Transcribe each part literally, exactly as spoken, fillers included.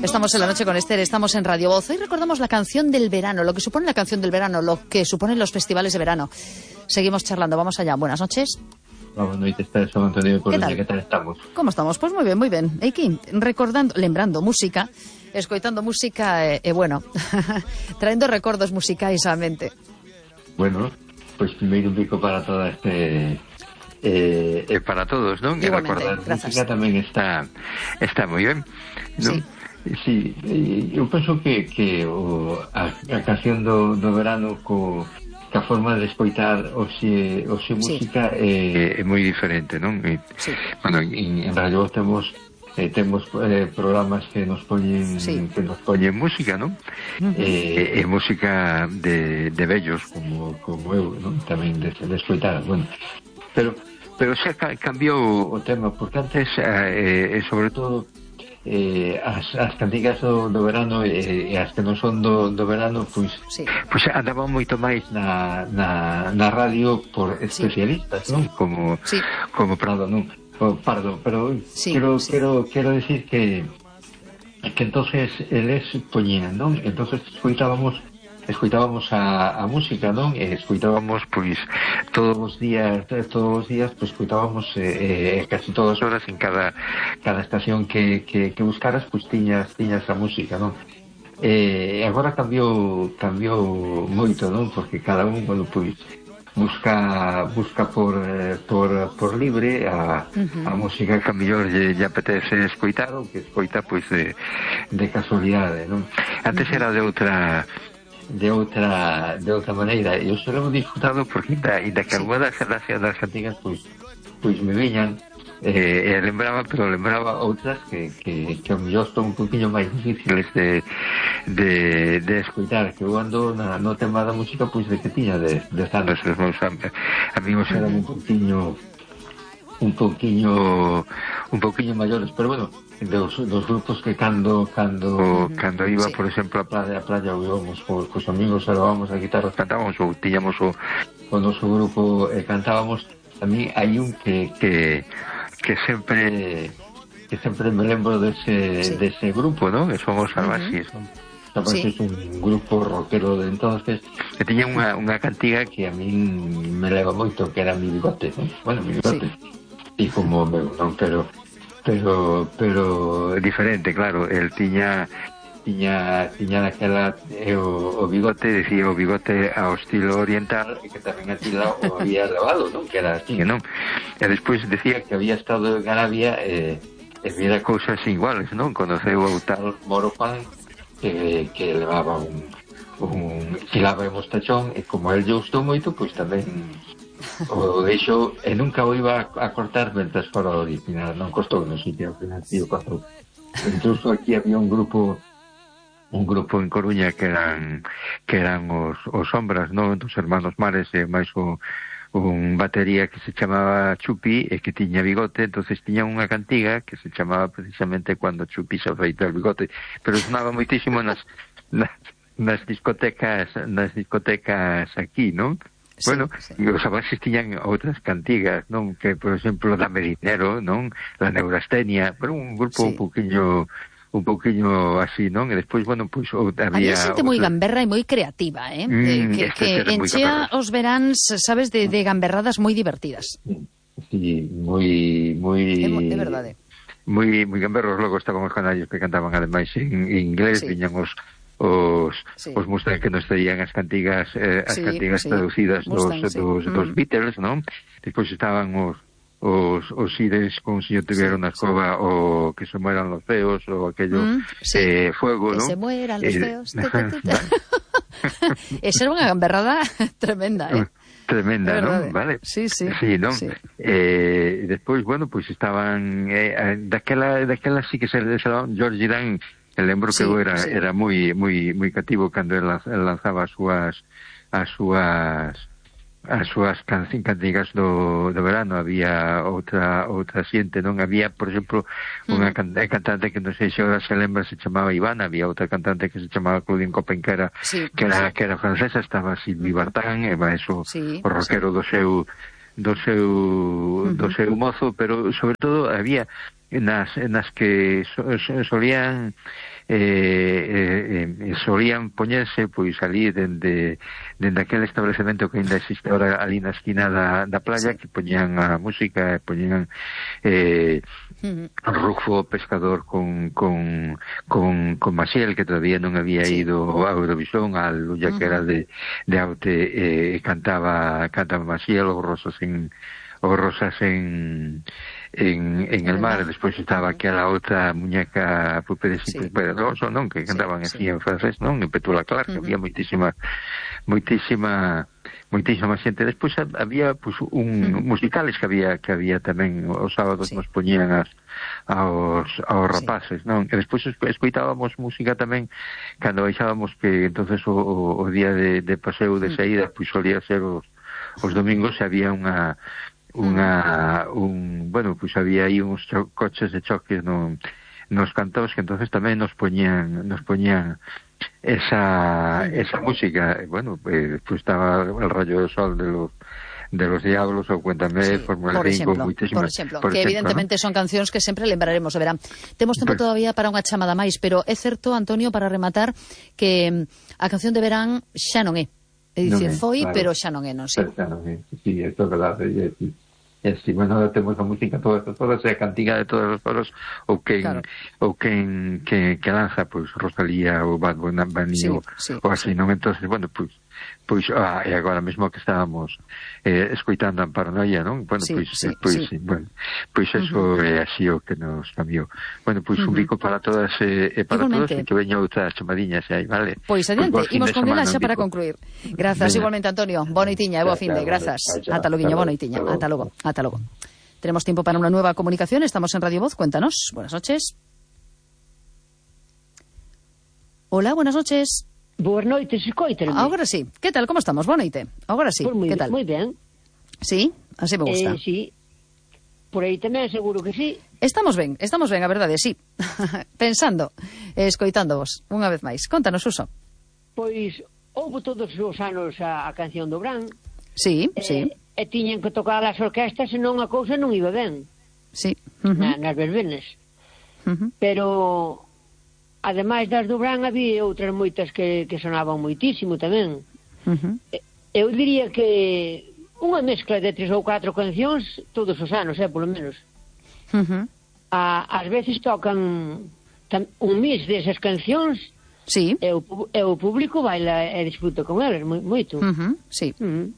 Estamos en la noche con Esther, estamos en Radio Voz. Hoy recordamos la canción del verano, lo que supone la canción del verano, lo que suponen los festivales de verano. Seguimos charlando, vamos allá. Buenas noches. Buenas noches, Esther, Antonio. ¿Qué tal? ¿Qué tal estamos? ¿Cómo estamos? Pues muy bien, muy bien. Aquí, recordando, lembrando música, escoitando música, e, eh, bueno, traendo recordos musicais á mente. Bueno, pues primeiro un pico para toda este... Eh, eh, para todos, ¿no? Que recordar gracias. Música tamén está está moi ben, ¿no? Sí. Sí, eu penso que, que o, a, a canción do, do verano co, que a forma de escoitar o xe, o xe música sí. é, é moi diferente, non? E, sí. Bueno, en, en Radio temos eh, temos eh, programas que nos poñen sí. que nos poñen música, non? Uh-huh. E, e música de, de vellos como, como eu, non? Tamén de, de escoitar, bueno, pero pero xa cambiou o tema, porque antes eh, eh, sobre todo eh, as, as cantigas do, do verano e eh, as que non son do, do verano pois, sí. pois andaban moito máis na, na, na radio por especialistas, sí. non? Como, sí. como Prado, non? O Pardo, pero sí, quero, sí. quero quero decir que que entonces eles poñían, non? Entonces escoitábamos escoitábamos a, a música, non? E escoitábamos, pois, todos os días, todos os días, pois, escoitábamos eh, eh, casi todas as horas en cada cada estación que, que, que buscaras, pois, tiñas, tiñas a música, non? E eh, agora cambiou, cambiou moito, non? Porque cada un, bueno, pois, busca busca por eh, por, por libre a, uh-huh. a música que a mellor lle, lle apetece escoitar ou que escoita, pois, de, de casualidade, non? Antes uh-huh. era de outra... de outra de outra maneira, e eu só hemos disfrutado porque ainda, ainda que sí. algunas das, das cantigas pois, pois me viñan eh, e lembraba, pero lembraba outras que, que, que ao mellor son un poquinho máis difíciles de, de, de escoitar, que eu ando na, no tema da música pois de que tiña de, de anos, os meus amigos eran un poquinho un poquinho un poquinho maiores, pero bueno, dos, dos grupos que cando cando cando iba, sí. por exemplo, a playa, a playa íbamos cos, cos amigos, levábamos a guitarra, cantábamos ou tiñamos o, o noso grupo e eh, cantábamos. A mí hai un que que que sempre que sempre me lembro dese sí. dese grupo, ¿no? Que son os Salvaxis, uh-huh. Salvaxis, sí. un grupo rockero de entonces que tiña unha, unha cantiga que a min me leva moito, que era Mi Bigote, ¿no? Bueno, Mi Bigote. Sí. E como meu, non, pero pero pero diferente, claro, el tiña tiña tiña daquela eh, o, o bigote, decía o bigote ao estilo oriental e que tamén atila o había lavado, non? Que era así, non? E despois decía que había estado en Arabia e, e viera cousas iguales, non? Conoceu o tal Moro Juan que, que levaba un un filaba de mostachón e como el lle gustou moito, pois tamén o deixo e nunca o iba a cortar mentras fora original, non costou no sitio ao final, tío, costou. Incluso aquí había un grupo un grupo en Coruña que eran que eran os, os Sombras, non? Dos hermanos Mares e máis o, un batería que se chamaba Chupi e que tiña bigote, entonces tiña unha cantiga que se chamaba precisamente Cuando Chupi se afeita el bigote, pero sonaba moitísimo nas, nas, nas discotecas nas discotecas aquí, non? Sí, bueno, sí. E os Salvaxis tiñan outras cantigas, non? Que, por exemplo, da Medinero, non? La Neurastenia, pero un grupo sí. un pouquiño un pouquiño así, non? E despois, bueno, pois pues, había... Había xente moi gamberra e moi creativa, eh? Mm, que que enchea os veráns, sabes, de, de gamberradas moi divertidas. Sí, moi... moi... De verdade. Moi, moi gamberros, logo estaban os canallos que cantaban ademais en inglés, sí. Viñan os... os sí. os Mustang que nos traían as cantigas eh, as sí, cantigas sí. traducidas Mustang, dos, sí. dos, mm. dos Beatles, non? Despois estaban os os, os Sires con Si yo tuviera sí, una escoba sí. o Que se mueran los feos o aquello mm, sí. eh, fuego, que ¿no? se mueran los eh, feos esa era unha gamberrada tremenda, eh? Tremenda, ¿no? Vale. Sí, sí. Sí, ¿no? Sí. Eh, despois, bueno, pois pues estaban eh, daquela, daquela sí que se lanzaban George Dan. El lembro sí, que era sí. era moi moi moi cativo cando el lanzaba as súas as súas as súas cantigas do, do verano. Había outra outra xente, non? Había, por exemplo, unha mm. cantante que non sei se ahora se lembra, se chamaba Ivana. Había outra cantante que se chamaba Claudine Copen, que era, sí, que era, que era francesa. Estaba Sylvie Vartan, e va eso, sí, o rockero sí. do seu do seu uh-huh. do seu mozo, pero sobre todo había nas, nas que so, so, solían eh, eh, solían poñerse pois ali dende, dende aquel establecemento que ainda existe ahora ali na esquina da, da playa, sí, que poñían a música, poñían eh, uh-huh. Rufo Pescador con, con, con, con Maciel, que todavía non había sí. ido a Eurovisión, a Lulla, uh-huh. que era de, de Aute, eh, cantaba cantaba Maciel, o Rosas en o Rosas en en, en el mar. Despois estaba aquela outra muñeca Pupedes y sí. Pupedoso, non? Que cantaban sí, así sí. en francés, non? En Petula Clark, uh-huh. había moitísima moitísima moitísima xente. Despois había pues, un uh-huh. musicales que había que había tamén os sábados sí. nos poñían as aos aos rapaces, sí. non? E despois escoitábamos música tamén cando baixábamos, que entonces o, o, o día de, de paseo de saída pois pues, solía ser os os domingos, había unha unha un, bueno, pois pues había aí uns cho- coches de choques no, nos cantos, que entonces tamén nos poñían nos poñían esa esa música. Bueno, eh, pues estaba el Rayo del Sol de los de los Diablos, ou Cuéntame, sí, Fórmula cinco, por exemplo, por que exemplo, evidentemente ¿no? son cancións que sempre lembraremos, de verán. Temos tempo pues, todavía para unha chamada máis, pero é certo, Antonio, para rematar, que a canción de verán xa non é. É dicir, non é, foi, claro, pero xa non é, non sei. Xa non é, sí, é verdade, é dicir. E si, bueno, temos a música toda, toda esa cantiga de todos os foros, ou quen, claro. ou quen que, que lanza, pois, pues, Rosalía ou Bad Bunny, sí, ou, sí, ou así, sí. non? Entonces, bueno, pois, pois, ah, e agora mesmo que estábamos eh, escoitando a Paranoia, non? Bueno, sí, pois, sí, pois, sí. bueno, pois eso uh-huh. é así o que nos cambiou. Bueno, pois, uh-huh. un bico para todas e eh, para igualmente. Todos, e que veña outra chamadiña xa aí, vale? Pois, adiante, pues, imos con ela xa para concluir. Grazas, Venga. Igualmente, Antonio. Boa noitiña, e boa fin de, grazas. Ata logo, boa noitiña, ata logo, ata logo. Tenemos tiempo para una nueva comunicación. Estamos en Radio Voz. Cuéntanos. Buenas noches. Hola, buenas noches. Buenas noites, escoítame. Ahora sí. ¿Qué tal? ¿Cómo estamos? Boa noite. Ahora sí. Pues muy, ¿Qué tal? Muy bien. Sí, así me gusta. Eh, sí. Por aí tamén seguro que sí. Estamos ben, estamos ben, a verdade, sí. Pensando, eh, escoitándovos, unha vez máis. Contanos, Suso. Pois, houve todos os anos a, a canción do Brán. Sí, eh, sí. E tiñen que tocar as orquestas, senón a cousa non iba ben. Sí. Uh-huh. Na, nas verbenas. Uh-huh. Pero, ademais das do Brán, había outras moitas que, que sonaban moitísimo tamén. Uh-huh. Eu diría que unha mezcla de tres ou catro cancións todos os anos, eh, polo menos. Uh-huh. A, ás veces tocan tam, un mix desas cancións. Sí. E o, e o público baila e disfruta con elas moito. Uh-huh. Sí. Uh-huh.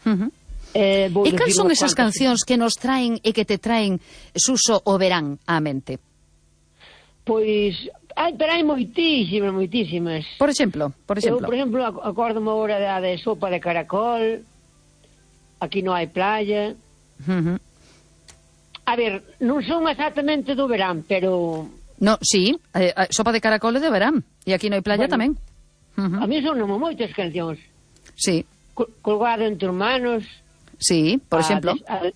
Uh-huh. Eh, e cal son esas cancións que nos traen e que te traen, Suso, o verán á mente? Pois, ai, pero hai moitísimas, moitísimas. Por exemplo, por exemplo. Eu, por exemplo, acórdome agora da de Sopa de Caracol, Aquí non hai playa. Uh-huh. A ver, non son exactamente do verán, pero... No, sí, eh, Sopa de Caracol é de verán, e Aquí non hai playa bueno, tamén. Uh-huh. A mí son moitas cancións. Sí. Col- Colgado entre manos. Sí, por a exemplo. De, a,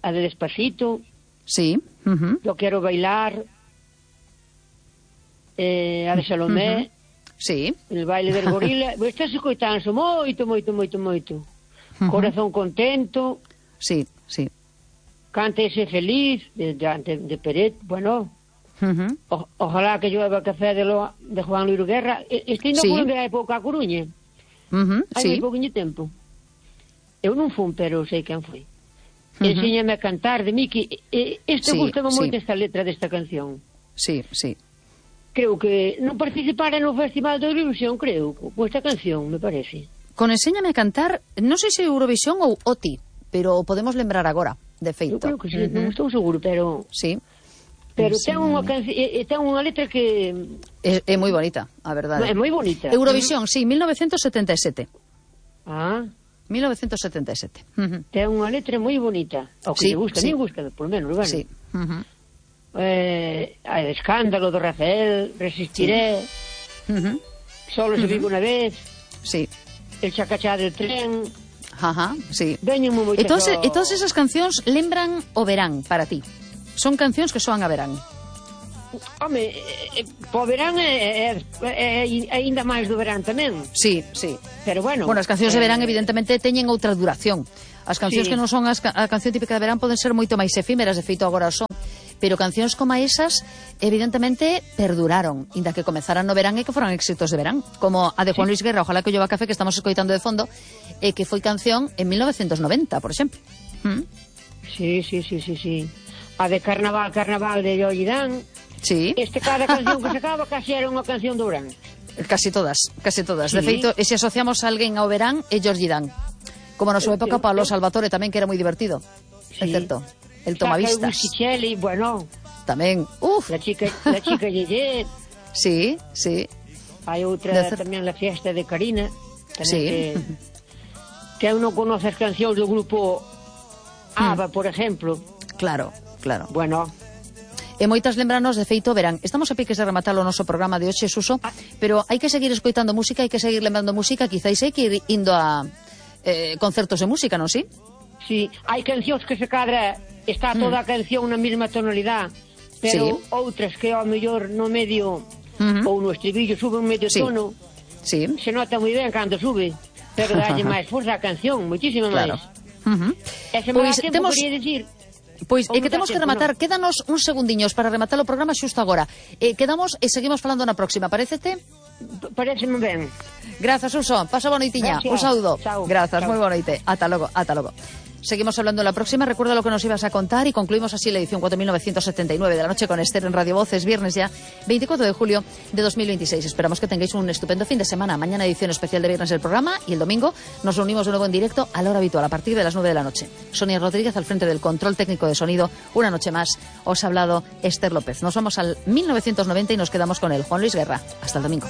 a de Despacito. Sí. Uh-huh. Yo quero bailar. Eh, a de Salomé. Uh-huh. Sí. El baile del gorila. Estás escoitando moito, moito, moito, moito. Uh-huh. Corazón contento. Sí, sí. Cántese feliz, de, de, de Peret. Bueno, uh-huh. o, ojalá que llueva café de, lo, de Juan Luis Guerra. Este non sí. foi de época a Coruña. Uh-huh. Hai sí. moi pouquinho tempo. Eu non fun, pero sei quen foi. Uh-huh. Enséñame a cantar de Miki. Este sí, gustaba sí. moito esta letra desta canción. Sí, sí. Creo que non participara no Festival de Eurovisión, creo, con esta canción, me parece. Con Enséñame a cantar, non sei se Eurovisión ou O T I, pero podemos lembrar agora, de feito. Eu creo que sí, uh-huh. non estou seguro, pero... Sí. Pero sí. ten unha canción, ten unha letra que... É, é moi bonita, a verdade. É moi bonita. Eurovisión, uh-huh. sí, mil novecientos setenta e sete. Ah. mil novecientos setenta e sete. Uh-huh. Ten unha letra moi bonita. O que sí, me gusta, sí. me gusta, por menos, bueno. Sí. Uh-huh. Eh, a de Escándalo do Rafael, Resistiré, sí. uh-huh. Solo se uh-huh. vive unha vez, sí. El chacachá del tren. Ajá, sí. Veñenme moitas. E todas, e todas esas cancións lembran o verán para ti. Son cancións que soan a verán. Home, eh, po verán é, é, é, é ainda máis do verán tamén. Sí, sí. Pero bueno. Bueno, as cancións eh, de verán evidentemente teñen outra duración. As cancións sí. que non son as, a canción típica de verán poden ser moito máis efímeras, de feito agora son. pero cancións como esas evidentemente perduraron, inda que comezaran no verán e que foran éxitos de verán, como a de Juan Luis Guerra, Ojalá que llueva café, que estamos escoitando de fondo, e que foi canción en mil novecientos noventa, por exemplo. ¿Mm? Sí, sí, sí, sí, sí. A de Carnaval, Carnaval de Jordi Dan. Sí. Este cada canción que sacaba casi era unha canción do verán. Casi todas, casi todas. Sí. De feito, e se asociamos a alguén ao verán é Jordi Dan. Como na súa época Pablo Salvatore tamén, que era moi divertido. Sí. É certo. El tomavistas. Saca el Whisky bueno. Tamén. Uf. La chica, la chica Yeye. Sí, sí. Hai outra tamén, La fiesta de Karina. Sí. Que, que eu non conoce as cancións do grupo ABBA, hmm. por exemplo. Claro, claro. Bueno. E moitas lembranos, de feito, verán, estamos a piques de rematar o noso programa de hoxe, Suso, ah. pero hai que seguir escoitando música, hai que seguir lembrando música, quizáis hai que ir indo a eh, concertos de música, non si? Sí, hai cancións que se cadra, está toda mm. a canción na mesma tonalidade, pero sí. outras que ao mellor no medio, uh-huh. ou no estribillo sube un medio sí. tono, sí. se nota moi ben cando sube, pero dalle máis forza a canción, moitísimo claro. máis. Uh-huh. E se me pues, dá tempo, temos... quería dicir... Pois é que temos que rematar, no. Quédanos uns segundiños para rematar o programa xusto agora. Eh, quedamos e seguimos falando na próxima, parecete? Pareceme ben. Grazas, Uso, pasa boa noitiña. Un saúdo. Chao. Grazas, Chao. moi boa noite. Ata logo, ata logo. Seguimos hablando en la próxima. Recuerda lo que nos ibas a contar y concluimos así la edición cuatro mil novecientos setenta y nueve de la noche con Esther en Radio Voces, viernes ya, veinticuatro de julio de dos mil veintiséis. Esperamos que tengáis un estupendo fin de semana. Mañana edición especial de viernes del programa y el domingo nos reunimos de nuevo en directo a la hora habitual, a partir de las nueve de la noche. Sonia Rodríguez al frente del control técnico de sonido. Una noche más os ha hablado Esther López. Nos vamos al mil novecientos noventa y nos quedamos con el Juan Luis Guerra. Hasta el domingo.